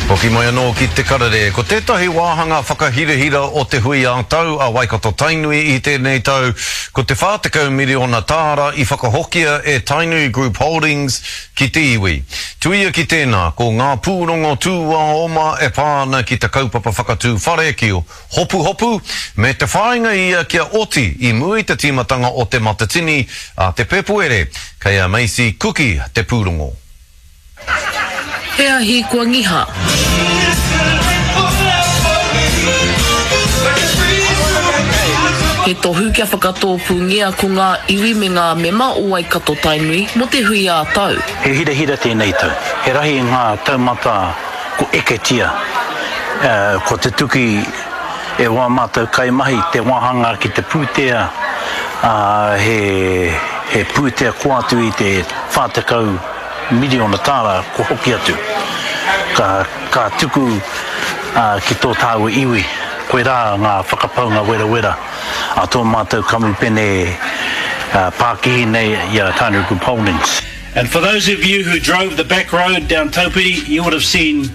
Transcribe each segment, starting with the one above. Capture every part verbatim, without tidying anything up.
Hoki mai anō ki te karere, ko tētahi wāhanga whakahirahira o te hui ā-tau a Waikato Tainui i tēnei tau, ko te whā tekau miriona tāra i whakahokia e Tainui Group Holdings ki te iwi. Tuia ki tēnā, ko ngā pūrongo tūāoma e pā ana ki te kaupapa whakatū whare ki Hopuhopu, me te whāinga ia kia oti i mua i te tīmatanga o Te Matatini a te Pēpuere. Kei a Macy Kuki te pūrongo. He ahi kua ngiha. He tohu kia whakatōpūngia ko ngā iwi me ngā mema o Waikato-Tainui mō te hui ā-tau. He hirahira tēnei tau. He rahi ngā taumata ko eketia, kua tutuki e wā mātou kaimahi te wāhanga ki te pūtea, ā, he pūtea kua atu i te whā tekau miriona tāra kua hoki atu. Ka, ka tuku ki tō tāua iwi, koirā ngā whakapaunga werawera a tō mātou kamupene pākihi nei i a Tainui Group Holdings. And for those of you who drove the back road down Taupiri, you would have seen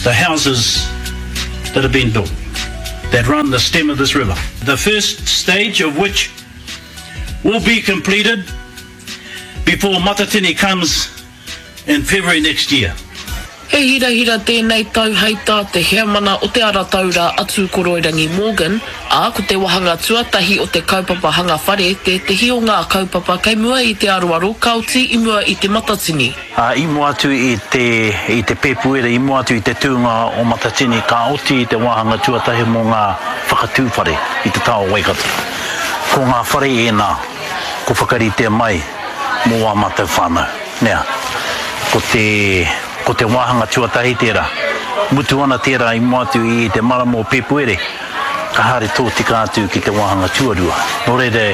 the houses that have been built that run the stem of this river. The first stage of which will be completed before Matatini comes in February next year. He hirahira tēnei tau hei tā te heamana o Te Ara Taura a Tūkoroirangi Morgan, ā, ko te wāhanga tuatahi o te kaupapa hanga whare tētehi o ngā kaupapa kei mua i te aroaro ka oti i mua i Te Matatini. Ā, i mua atu i te, i te Pēpuere, i mua atu i te tūnga o Matatini ka oti te wāhanga tuatahi mō ngā whakatū whare i te taha o Waikato. Ko ngā whare ēnā kua whakaritea mai mō ā mātou whānau. Nea, ko te, ko te wāhanga tuatahi tērā. Mutu ana tērā i mua atu i te marama o Pēpuere, ka haere tōtika atu ki te wāhanga tuarua. Nō reira,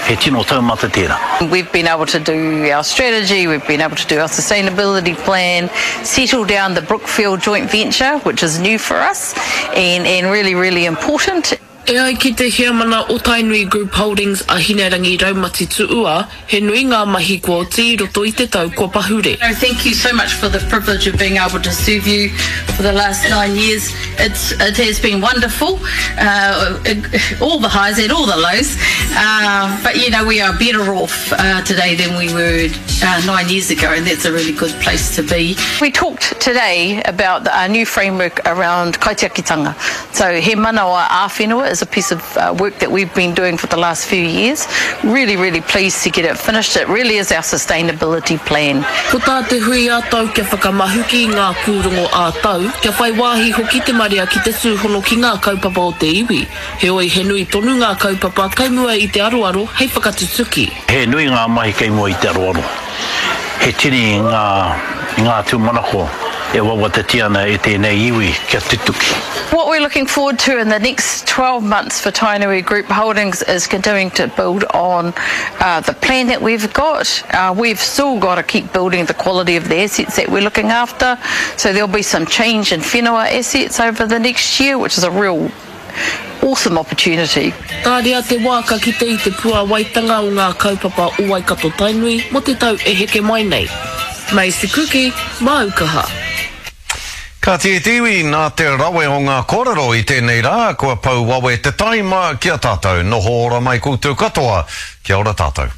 he tino taumata tērā. We've been able to do our strategy, we've been able to do our sustainability plan, settle down the Brookfield joint venture, which is new for us and, and really, really important. E ai ki te heamana o Tainui Group Holdings a Hinerangi Raumati Tuua, he nui ngā mahi kua oti i roto i te tau kua pahure. Thank you so much for the privilege of being able to serve you for the last nine years. It's, it has been wonderful, uh, all the highs and all the lows, uh, but you know we are better off, uh, today than we were, uh, nine years ago, and that's a really good place to be. We talked today about our new framework around kaitiakitanga. So he manawa ā-whenua is a piece of, uh, work that we've been doing for the last few years. Really, really pleased to get it finished. It really is our sustainability plan. Ko tā te hui ā-tau kia whakamahuki i ngā pūrongo ā-tau, kia whai wāhi hoki te marea ki te tūhono ki ngā kaupapa o te iwi. Heoi, he nui tonu ngā kaupapa kei mua i te aroaro hei whakatutuki. He nui ngā mahi kei mua i te aroaro. He tini ngā, ngā tūmanako e wawatatia ana e tēnei iwi kia tutuki. What we're looking forward to in the next twelve months for Tainui Group Holdings is continuing to build on, uh, the plan that we've got. Uh, we've still got to keep building the quality of the assets that we're looking after, so there'll be some change in whenua assets over the next year, which is a real awesome opportunity. Tāria te wā ka kite i te puāwaitanga o ngā kaupapa o Waikato Tainui mō te tau e heke mai nei. Macy Kuki, māu kaha. Ka tīti te iwi nā te rawe o ngā kōrero i tēnei rā, kua pau wawe te taima ki a tātou. Noho ora mai koutou katoa. Kia ora tātou.